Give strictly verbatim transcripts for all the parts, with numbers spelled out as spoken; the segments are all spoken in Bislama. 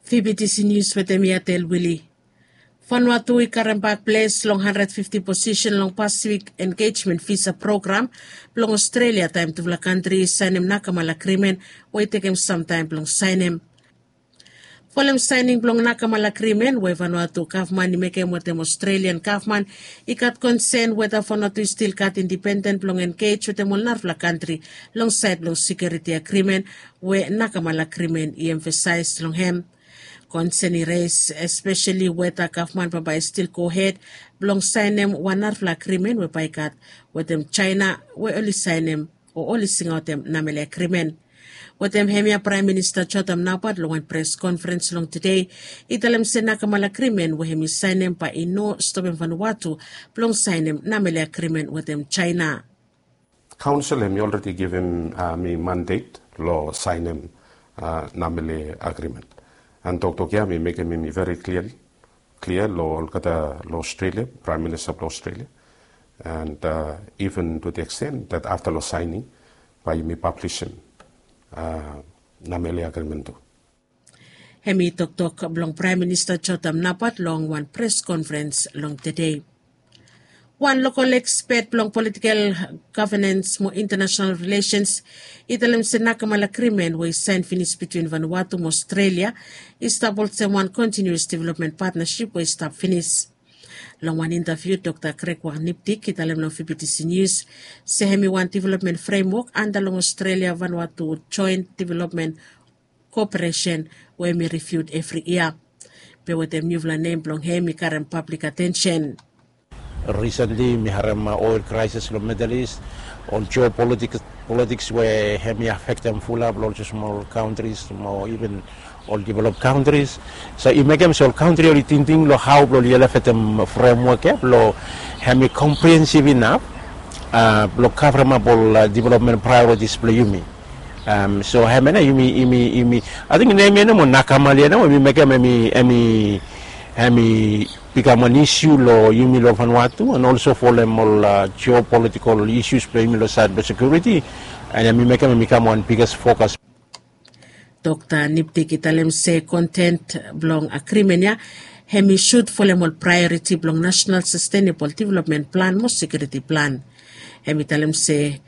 Fibitisi nius wetem yatel wili. Vanuatu i karem bak ples long handred fifti posisen long Pacific Engagement Visa Program blong Australia taem tufala kantri i saenem Nakamal Agrimen we i tekem samtaem blong saenem. Folem saening blong Nakamal Agrimen we Vanuatu gavman i mekem wetem Australian gavman, i gat konsen weta Vanuatu i stil gat indipenden blong engej wetem ol narafala kantri long saed blong sekiuriti agrimen we Nakamal Agrimen i emfasaes long hem. Konsen i res espeseli weta gavman bambae i stil gohed blong saenem wan narafala agrimen we bae i gat wetem Jaena we oli saenem o oli singaotem Namele Agrimen. Wetem hemia Praem Minista Jotam Napat long wan pres konferens long tede i talem se Nakamal Agrimen we hem i saenem bae i no stopem Vanuatu blong saenem Namele Agrimen wetem Jaena. Kaonsel hem i olredi givim mi mandet long saenem Namele Agrimen. An toktok ya mi mekem hem i veri klia, klia long olgeta long Australia, Praem Minista blong Australia. And even to the extent that afta long saening bae yumi pablisim Namele Agrimen tu. Hem i toktok blong Praem Minista Jotam Napat long wan pres konferens long tede. Wan lokol ekspet blong politikel gavenens mo intanasenal rilesens i talem se Nakamal Agrimen we i saen finis bitwin Vanuatu mo Australia i stap olsem wan kontinius developmen patnasip we i stap finis. Long wan intaviu Dokta Greg Wang Niptik i talem long Fibitisi Nius se hem i wan developmen fremwok anda long Australia Vanuatu joen developmen koperesen we hem i riviut evri yia. Be wetem niufala nem blong hem i karem pablik atensen. Risentli mi harem oel kraesis long Middle East, ol jeopolitiks we hem i afektem fulap long ol smol kantris mo iven ol develop kantris. So i mekem se ol kantri oli tingting long hao blong oli elevetem fremwok ya blong hem i komprehensif inap blong kavremap ol developmen praeoritis blong yumi. So hemia nao yumi, yumi, yumi, ating nem ya nao mo Nakamal ya nao mo yumi mekem hem i, hem i, hem i bikam wan isiu long yumi long Vanuatu and olso folem ol jeopolitikol isius blong yumi long saed blong sekiuriti. And hem i mekem hem i kam wan biges fokas. Dokta Niptik i talem se kontent blong agrimen ya hem i sud folem ol praeoriti blong nasenal sastenebol developmen plan mo sekiuriti plan. Hem i talem se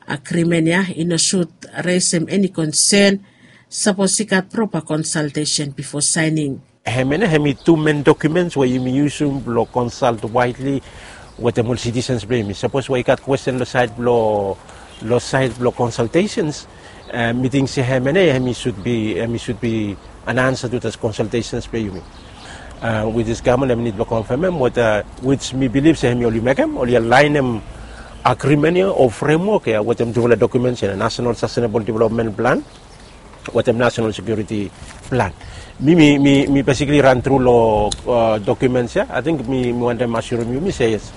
agrimen ya i no sud resem eni konsen sapos i gat propa konsaltesen bifo saening. Hemia nao hem i tu men dokumens we yumi yusum blong konsalt waedli wetem ol sitisens blong yumi. Sapos we i gat kwesten long saed blong, long saed blong konsaltesens, mi ting se hemia nao hem i sud bi, hem i sud bi an ansa tu das konsaltesens blong yumi. Wit dis gavman hem i nid blong konfemem weta wits mi bilif se hem i oli mekem, oli alaenem agrimen ya o fremwok ya wetem tufala dokumens ya, nasenal sastenebol developmen plan wetem nasenal sekiuriti plan. Mi, mi, mi, mi besikli ran tru long dokumens ya. Ating mi, mi wantem asurim yumi se yes,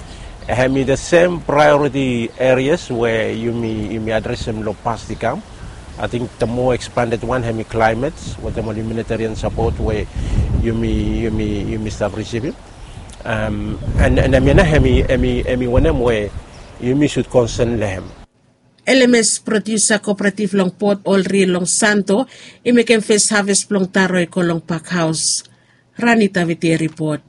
hem i the sem praeoriti erias we yumi, yumi adresem long pas i kam. Ating the more ekspanded wan hem i klaemet wetem ol humanitarian sapot we yumi, yumi, yumi stap risivim. And, and hemia nao hem i, hem i, hem i wanem we yumi sud konsen long hem. L M S Produsa Kooperativ long Port Olri long Santo i mekem fes haves blong taro i go long pakhaos. Rani Taviti i ripot.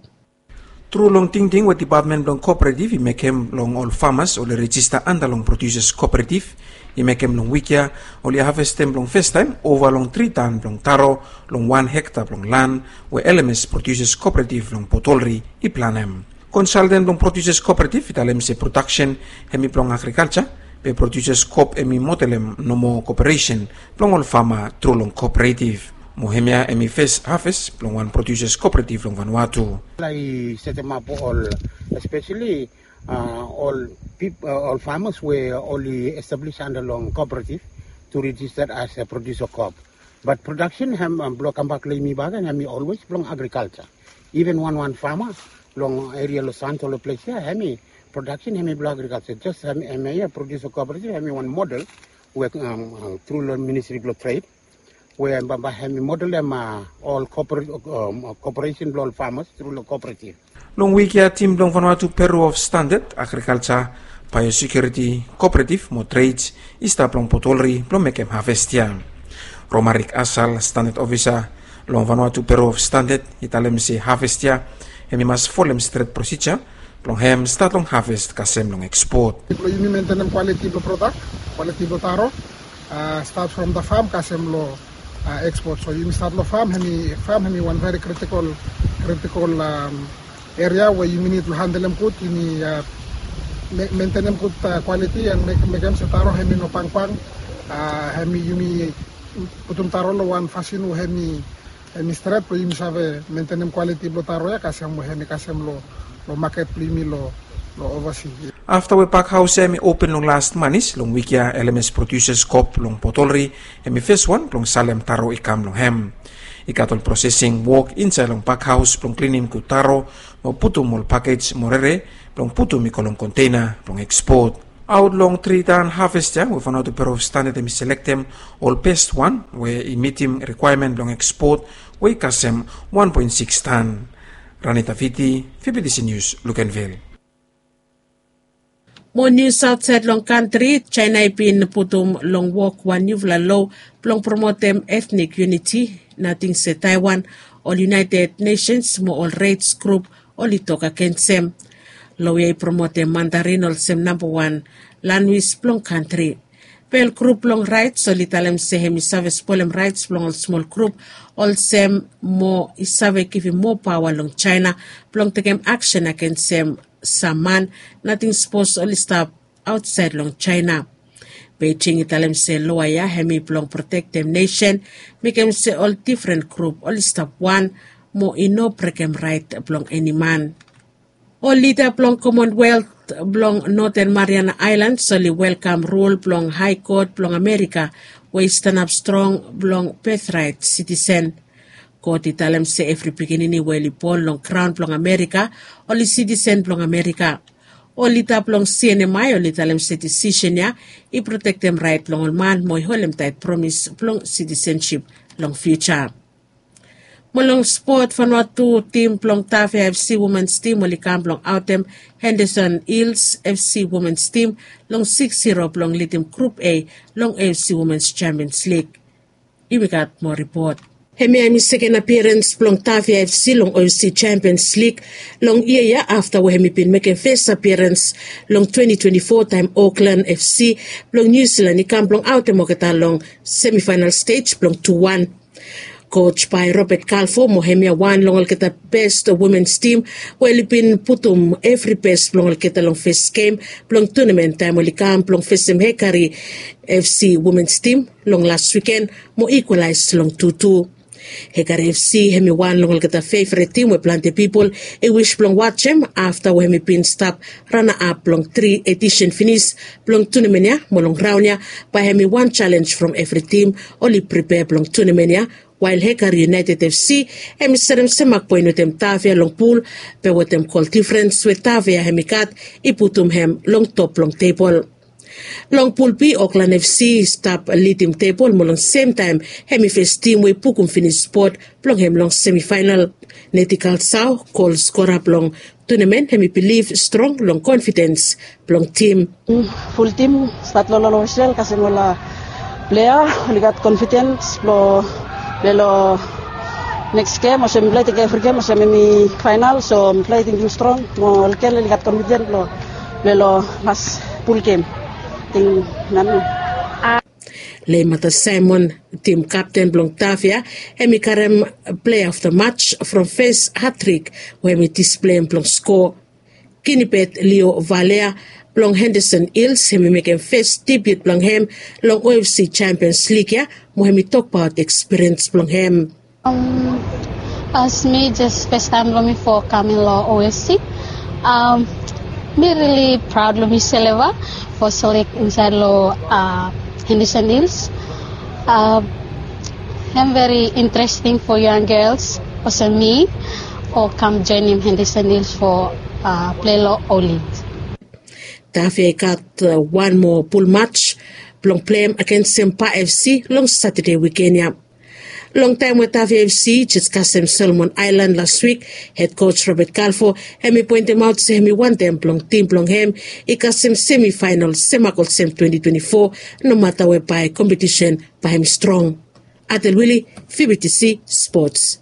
Tru long tingting we dipatmen blong kooperativ i mekem long ol famas oli rejista anda long Produsas Kooperativ i mekem long wik ya, oli havestem blong festaem ova long tri tan blong taro long wan hekta blong lan we L M S Produsas Kooperativ long Port Olri i planem. Konsalten blong Produsas Kooperativ i talem se prodaksen hem i blong agrikalja, be Produsas Koop hem i modelem nomo koperesen blong ol fama tru long kooperativ. Mo hemia hem i fes haves blong wan Produsas Kooperativ long Vanuatu. I setemap ol, espeseli ol pip-, ol famas we oli establis anda long kooperativ tu rejista as a Produsa Koop. Bat prodaksen hem, blong kambak long yumi bakegen hem i olwes blong agrikalja. Iven wanwan fama long eria long Santo long ples ya hem i prodaksen hem i blong agrikalja. Jes hem, hemia Produsa Kooperativ hem i wan model we tru long Ministri blong Tred we bambae hem i modelem ol koopera-, koperesen blong ol famas tru long kooperativ. Long wik ya tim blong Vanuatu Bureau of Standard, Agrikalja, Biosekiuriti, Kooperativ mo Trades i stap long Port Olri blong mekem haves ya. Romaric Asal, Standard Ofisa Long Vanuatu Bureau of Standard i talem se haves ya hem i mas folem stret prosija blong hem stat long haves kasem long ekspot. Blong yumi mentenem kwaliti blong prodak, kwaliti blong taro, stat from da fam kasem long ekspot. So yumi stat long fam, hem i fam hem i wan veri kritikol kritikol eria we yumi nid long handelem gud, yumi mentenem gud kwaliti an mekem se taro hem i no pangpang. Hem i yumi putum taro long wan fasin we hem i hem i stret blong yumi save mentenem kwaliti blong taro ya kasem we hem i kasem long maket blong yumi long ovasi. Afta we pak haos ya hem i open long las manis long wik ya, lms produsas kop long botolri hem i feswan blong salem taro i kam long hem. I gat ol prosesing wok insaed long pak haos blong klinim gud taro mo putum ol pakej mo rere blong putum i go long konteina blong ekspot. Aot long tri tan haves ya we Vanuatu Bureau of Standard hem i selektem ol bes wan we i mitim rikwaemen blong ekspot we i kasem wan poen siks tan. Ranita Viti, Vibitisi Nius, Lukenvil. Mo nius aotsaed long kantri, Jaena i bin putum long wok wan niufala lo blong promotem etnik yuniti. Nating se Taiwan, ol United Nesens mo ol rets grup oli tok agensem. Lo ya i promotem Mandarin olsem nambawan lanwis blong kantri. Bel grup blong raets oli talem se hem i save spolem raets blong ol smol grup olsem mo i save givim moa paoa long Jaena blong tekem aksen agensem sam man nating sapos oli stap aotsaed long Jaena. Beijing i talem se loa ya hem i blong protektem nesen, mekem se ol difren grup oli stap wan mo i no brekem raet blong eni man. Ol lida blong Komonwelt blong Noten Mariana Aelans oli welkam rul blong Hae Kot blong Amerika we i stanap strong blong bethraet sitisen. God i talem se evri pikinini we oli bon long graon blong Amerika oli sitisen blong Amerika. Ol lida blong CNMI oli talem se disisen ya i protektem raet blong ol man mo i holemtaet promis blong sitisensip long fiuja. Mo long spot, Vanuatu tim blong Tavia FC womens tim oli kam blong aotem Henderson Hills FC womens tim long siks ziro blong lidim grup A long AFC Womens Champions Lig. Yumi gat moa ripot. Hemia hem i seken apiarens blong Tavia FC long OFC Champions Lig long yia ya afta we hem i bin mekem fes apiarens long twenti twenti fo taem Auckland FC blong Niu Silan i kam blong aotem olgeta long semifaenal stej blong tu wan. Koj bae Robert Kalfo mo hemia wan long olgeta bes womens tim we oli bin putum evri bes blong olgeta long fes gem blong tunamen taem oli kam blong fesem Hekari FC womens tim long las wiken mo ikwalaes long tu tu. Hekari FC hem i wan long olgeta fevret tim we plante pipol i wis blong wajem afta we hem i bin stap ranaap long tri edisen finis blong tunamen ya mo long raon ya bae hem i wan jalenj from evri tim oli pripea blong tunamen ya. Wael Hekari United FC hem i serem semak poen wetem Tavia long pul be wetem gol difrens we Tavia hem i gat i putum hem long top blong tebol. Long pul B, Auckland FC i stap lidim tebol mo long semtaem hem i fes tim we i bukum finis spot blong hem long semifaenal. Neti Kalsao, gol skora blong tunamen, hem i bilif strong long konfidens blong tim. Ful tim stat long lolo Israel kasem ol plea oli gat konfidens blong plei long neks gem olsem mifala i tingim evri gem olsem hem i faenal, so mifala i tingim strong mo olgel oli gat konfidens blong plei long las pul gem. Ting nanu. Leimata Saemon, tim kapten blong Tavia, hem i karem plea of da maj from fes hatrik we hem i displeim blong skoa. Kinibet Leo Valea blong Henderson Hils hem i mekem fes debiut blong hem long OFC Champions League ya mo hem i tokbaot ekspiriens blong hem. As mi jes fes taem blong mi fo kaming long OFC, mi rili praod long mi seleva fo selek insaed long Henderson Hils. Hem veri interesting fo yang gels olsem mi fo kam joenem Henderson Hils fo plei long Olive. Tavia i gat wan moa pul maj blong pleim agensem Ba FC long Satade wiken ya. Long taem we Tavia FC i jes kasem Solomon Aelan las wik, hed koj Robert Kalfo hem i poentemaot se hem i wantem blong tim blong hem i kasem semifaenal semak olsem twenti twenti fo, nomata we bae kompetisen bae hem i strong. Atel Wili, Fibitisi spots.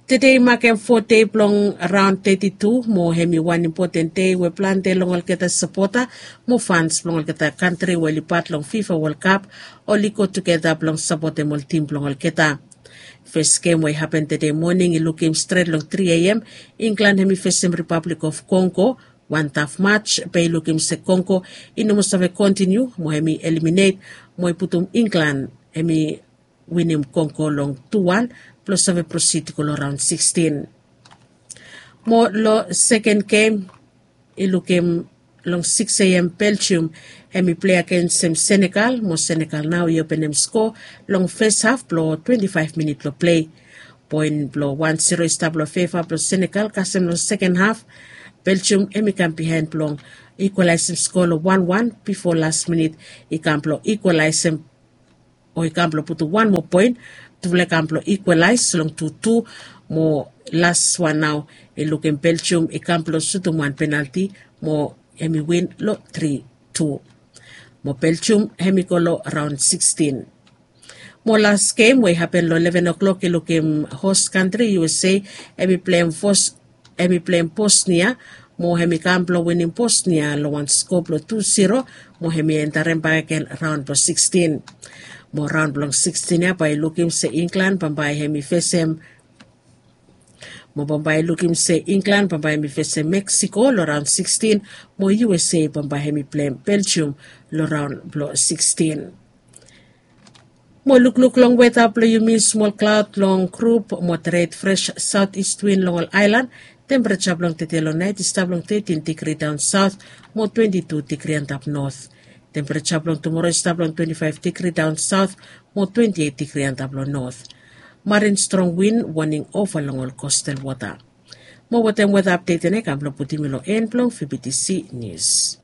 Tede i makem fo dei blong raon teti tu mo hem i wan impoten dei we plante long olgeta sapota mo fans blong olgeta kantri we oli pat long fifa wol kap oli go tugeta blong sapotem ol tim blong olgeta. Fes gem we i hapen tede moning i lukim stret long tri a m. Inglan hem i fesem ripablik of kongo. Wan taf mats be i lukim se kongo i no moa save kontiniu mo hem i eliminet mo i putum inglan hem i winim kongo long tu wan blong save prosid i go long raon sikstin. Mo long seken gem i lukim long siks a m belgium hem i plei agensem senegal mo senegal nao i openem sko long fes haf blong twenti faef minit blong plei. Poen blong wan siro i stap long feva blong senegal kasem long seken haf. Belgium hem i kam bihaen blong ikwalaesem sko long wan wan bifo las minit i kam blong ikwalaesem o i kam blong putum wan moa poen. Tufala i kam blong ikwalaes long tu tu mo las wan nao i lukim belgium i kam blong sutum wan penalti mo hem i win long tri tu. Mo belgium hem i go long raon sikstin. Mo las gem we i hapen long leven o'klok i lukim hos kantri usa hem i pleim fos hem i pleim bosnia mo hem i kam blong winim bosnia long wan sko blong tu siro mo hem i entarem bakegen raon blong sikstin. Mo raon blong sikstin ya bae i lukim se inglan bambae hem i fesem mo bambae i lukim se inglan bambae hem i fesem meksiko long raon sikstin mo usa bambae hem i pleim belgium long raon blong sikstin. Mo lukluk long weta blong yumi smol klaod long grup mo tret fres saot istwin long ol aelan. Tempereja blong tete long naet i stap long tetin digri daon saot mo twenti tu digri antap not. Tempereja blong tumora i stap long twenti faef digri daon saot mo twenti et digri antap long not. Marin strong win woning ova long ol kostal wota. Mo wetem weta apdet ya na i kam blong putim yu long en blong fibitisi nius.